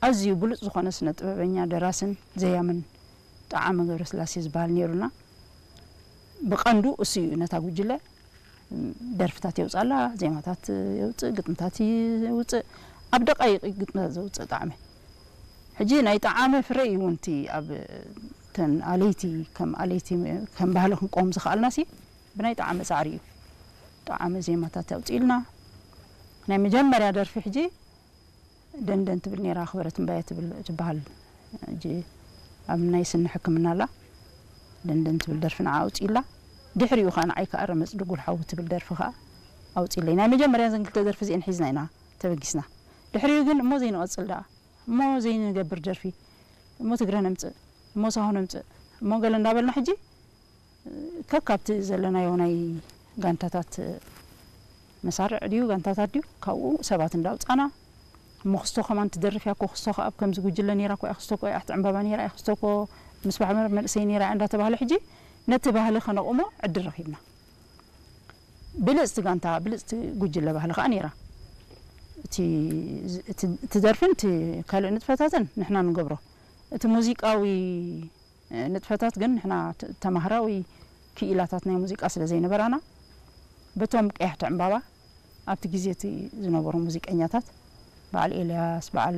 ኣዝዩ ብሉጽ ዝኾነ ስነ ጥበበኛ፣ ደራስን ዘያምን ጠዓመ ገብረስላሴ ዝበሃል ነይሩና። ብቐንዱ እሱ እዩ ነታ ጉጅለ ደርፍታት የውጻላ፣ ዜማታት የውጽእ፣ ግጥምታት የውጽእ። ኣብ ደቃይቕ ግጥምታት ዘውጽእ ጠዓመ። ሕጂ ናይ ጠዓመ ፍረ እዩ እውን እቲ ኣብ ተን ኣለይቲ፣ ከም ኣለይቲ፣ ከም ባህሊ ክንቆም ዝኸኣልናሲ ብናይ ጠዓመ ጻዕሪ እዩ። ጠዓመ ዜማታት ኣውጺእልና። ናይ መጀመርያ ደርፊ ሕጂ ደንደን ትብል ነይራ፣ ኣኽበረት እምባየ ትብል ትበሃል። ሕጂ ኣብ ናይ ስኒ ሕክምና ኣላ። ደንደን ትብል ደርፊ ንዓ ኣውጺእላ። ድሕሪኡ ኸኣ ንዓይ ከኣ ረመጽ ድጉል ሓዊ ትብል ደርፊ ኸኣ ኣውጺእለይ። ናይ መጀመርያ ዘን ክልተ ደርፊ እዚአን ሒዝና ኢና ተበጊስና። ድሕሪኡ ግን እሞ ዘይንቐጽል ደኣ፣ እሞ ዘይንገብር ደርፊ፣ እሞ ትግረ ነምጽእ፣ እሞ ሳሆ ነምጽእ፣ እሞ ገለ እንዳበልና ሕጂ ከካብቲ ዘለናዮ ናይ ጋንታታት መሳርዕ ድዩ ጋንታታት ድዩ ካብኡ ሰባት እንዳውጻና፣ እሞ ክስቶ ከማን ትደርፍ እያ እኮ፣ ክስቶ ከኣ ኣብ ከምዚ ጉጅለ ነይራ እኮ እያ፣ ክስቶ እኮ እያ ኣሕቲ ዕምባባ ነይራ እያ፣ ክስቶ እኮ ምስ ባሕመር መንእሰይ ነይራ እያ እንዳተባህለ ሕጂ ነቲ ባህሊ ከነቑሞ ዕድል ረኺብና። ብልጽቲ ጋንታ፣ ብልጽቲ ጉጅለ ባህሊ ከኣ ነይራ። እቲ፣ እቲ፣ እቲ ደርፍን እቲ ካልእ ንጥፈታትን ንሕና ንገብሮ። እቲ ሙዚቃዊ ንጥፈታት ግን ንሕና ተ-፣ ተማሃራዊ ክኢላታት ናይ ሙዚቃ ስለ ዘይነበራና፣ በቶም ቀያሕቲ ዕምባባ ኣብቲ ግዜ እቲ ዝነበሩ ሙዚቀኛታት፣ በዓል ኤልያስ፣ በዓል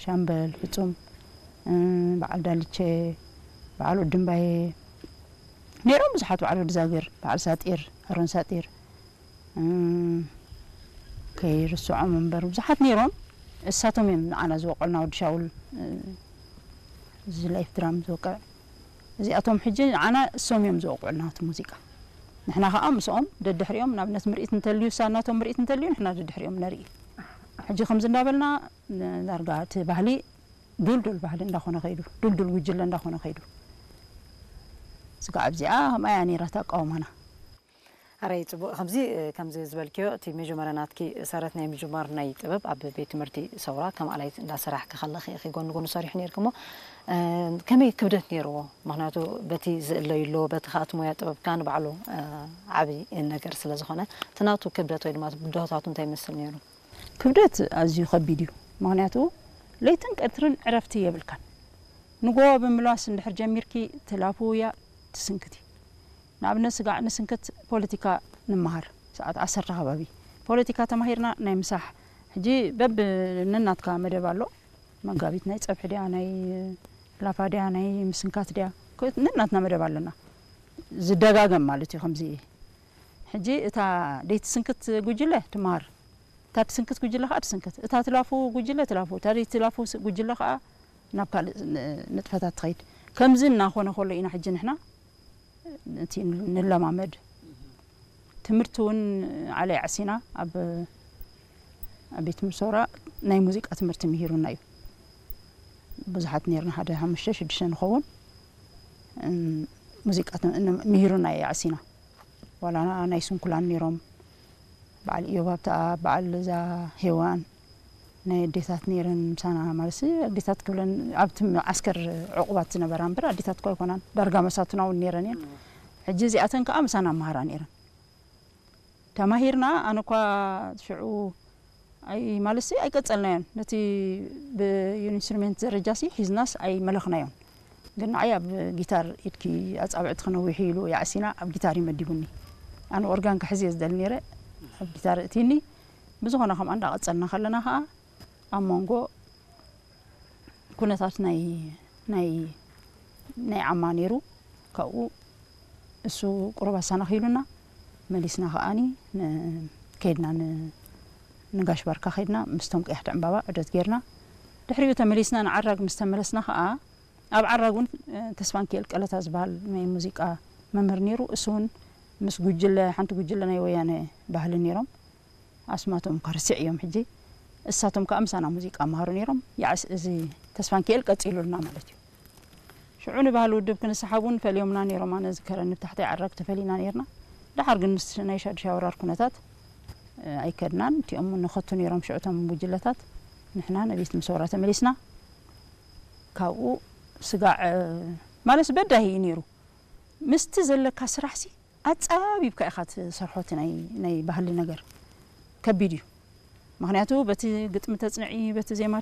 ሻምበል ፍጹም፣ በዓል ዳልቼ፣ በዓል ወዲ እምባየ፣ ነይሮም ብዙሓት፣ በዓል ወዲ ዛግር፣ በዓል ሳጢር፣ ኣሮን ሳጢር፣ ከይርስዖም እምበር ብዙሓት ነይሮም። እሳቶም እዮም ንዓና ዝወቀሉና፣ ወዲ ሻውል፣ እዚ ላይፍ ድራም ዝወቅዕ። እዚኣቶም ሕጂ ንዓና እሶም እዮም ዝወቅዑልና እቲ ሙዚቃ። ንሕና ከኣ ምስኦም ደድሕሪኦም፣ ንኣብነት ምርኢት እንተልዩ፣ እሳ እናቶም ምርኢት እንተልዩ፣ ንሕና ደድሕሪኦም ነርኢ። ሕጂ ከምዚ እንዳበልና ን-፣ ዳርጋ እቲ ባህሊ ዱልዱል ባህሊ እንዳኾነ ከይዱ፣ ዱልዱል ጉጅለ እንዳኾነ ከይዱ። ስጋዕ ኣብዚኣ ከምኣ እያ ነይራ ተቃውማና። ኣረይ ጽቡቕ። ከምዚ፣ ከምዚ ዝበልክዮ፣ እቲ መጀመርያ ናትኪ ሰረት ናይ ምጅማር ናይ ጥበብ ኣብ ቤት ትምህርቲ ሰውራ ከም ኣላይት እንዳሰራሕኪ ከለኺ ኢኺ ጎኒ ጎኒ ሰሪሑ ነይርኪ እሞ፣ እ፣ ከመይ ክብደት ነይርዎ? ምኽንያቱ በቲ ዝእለዩ ኣሎ፣ በቲ ከኣ እቲ ሞያ ጥበብካ ንባዕሉ፣ እ፣ ዓቢ ነገር ስለ ዝኾነ፣ እቲ ናቱ ክብደት ወይ ድማ እቲ ብድሆታቱ እንታይ ይመስል ነይሩ? ክብደት ኣዝዩ ከቢድ እዩ። ምኽንያቱ ለይትን ቀትርን ዕረፍቲ የብልካን። ንጎ ብምልዋስ እንድሕር ጀሚርኪ ትላፉ እያ ትስንክቲ። ንኣብነት ስጋዕ ንስንክት ፖለቲካ ንምሃር ሰዓት ዓሰርተ ከባቢ። ፖለቲካ ተማሂርና ናይ ምሳሕ። ሕጂ በብ ነናትካ መደብ ኣሎ። መጋቢት ናይ ጸብሒ ድያ፣ ናይ ላፋ ድያ፣ ናይ ምስንካት ድያ? ኮ-፣ ነናትና መደብ ኣለና። ዝደጋገም ማለት እዩ ከምዚ። ሕጂ እታ ደይትስንክት ጉጅለ ትምሃር። እታ ትስንክት ጉጅለ ከኣ ትስንክት። እታ ትላፉ ጉጅለ ትላፉ። እታ ደይትላፉ ስ-፣ ጉጅለ ከኣ ናብ ካልእ ን-፣ ንጥፈታት ትኸይድ። ከምዚ እናኾነ ከሎ ኢና ሕጂ ንሕና እቲ ንለማመድ። ትምህርቲ እውን ዓለ ኣዕሲና ኣብ፣ ኣብ ቤት ትምህርቲ ሰውራ ናይ ሙዚቃ ትምህርቲ ምሂሩና እዩ። ብዙሓት ነይርና፣ ሓደ ሓሙሽተ ሽዱሽተ ንኸውን፣ እም፣ ሙዚቃ ት-፣ ን-፣ ምሂሩና እዩ ኣዕሲና። ዋላ ናይ ስንኩላን ነይሮም፣ በዓል ኢዮብ ሃብተኣብ፣ በዓል እዛ ሄዋን፣ ናይ ኣዴታት ነይረን ምሳና፣ ማለት ኣዴታት ክብለን ኣብቲ ዓስከር ዕቑባት ዝነበራ እምበር ኣዴታት እኮ ኣይኮናን፣ ዳርጋ መሳቱና እውን ነይረን እየን። ሕጂ እዚኣተን ከኣ ምሳና መሃራ ነይረን። ተማሂርና፣ ኣነ እኳ ሽዑ ኣይ-፣ ማለትሲ ኣይቀጸልናዮን። ነቲ ብኢንስትሩሜንት ደረጃሲ ሒዝናስ ኣይመለኽናዮን። ግን ንዓይ ኣብ ጊታር ኢድኪ ኣጻብዕቲ ክነዊሑ ኢሉ የዕሲና ኣብ ጊታር እዩ መዲቡኒ። ኣነ ኦርጋን ክሕዝ እየ ዝደሊ ነይረ፣ ኣብ ጊታር እቲኒ። ብዝኾነ ከምኣ እንዳቐጸልና ከለና ከኣ ኣብ መንጎ ኩነታት ናይ፣ ናይ፣ ናይ ዓማ ነይሩ። ካብኡ እሱ ቁሩብ ኣሳናኺሉና፣ መሊስና ከኣኒ ን-፣ ከይድና ን-፣ ንጋሽ ባርካ ከይድና፣ ምስቶም ቀያሕቲ ዕምባባ ዑደት ጌርና። ድሕሪኡ ተመሊስና ንዓራግ ምስ ተመለስና ከኣ፣ ኣብ ዓራግ እውን፣ እ፣ ተስፋንኪኤል ቀለታ ዝበሃል ናይ ሙዚቃ መምህር ነይሩ። እሱ እውን ምስ ጉጅለ፣ ሓንቲ ጉጅለ ናይ ወያነ ባህሊ ነይሮም። ኣስማቶም እኳ ርሲዐዮም ሕጂ። እሳቶም ከኣ ምሳና ሙዚቃ መሃሩ ነይሮም። ያዕስ-፣ እዚ ተስፋንኪኤል ቀጺሉልና ማለት እዩ። ሽዑ ንባህሊ ውድብ ክንስሓብ እውን ፈልዮምና ነይሮም። ኣነ ዝከረኒ ብታሕታይ ዓራግ ተፈሊና ነይርና። ደሓር ግን ምስ ናይ ሻድሻይ ወራር ኩነታት፣ እ፣ ኣይከድናን። እቲኦም ንኸቱ ነይሮም ሽዑ እቶም ጉጅለታት። ንሕና ንቤት ምሰውራ ተመሊስና። ካብኡ ስጋዕ፣ እ፣ ማለት በዳሂ እዩ ነይሩ። ምስቲ ዘለካ ስራሕሲ ኣጻቢብካ ኢኻ ትሰርሖ። እቲ ናይ፣ ናይ ባህሊ ነገር ከቢድ እዩ። ምኽንያቱ በቲ ግጥሚ ተጽንዒ፣ በቲ ዜማ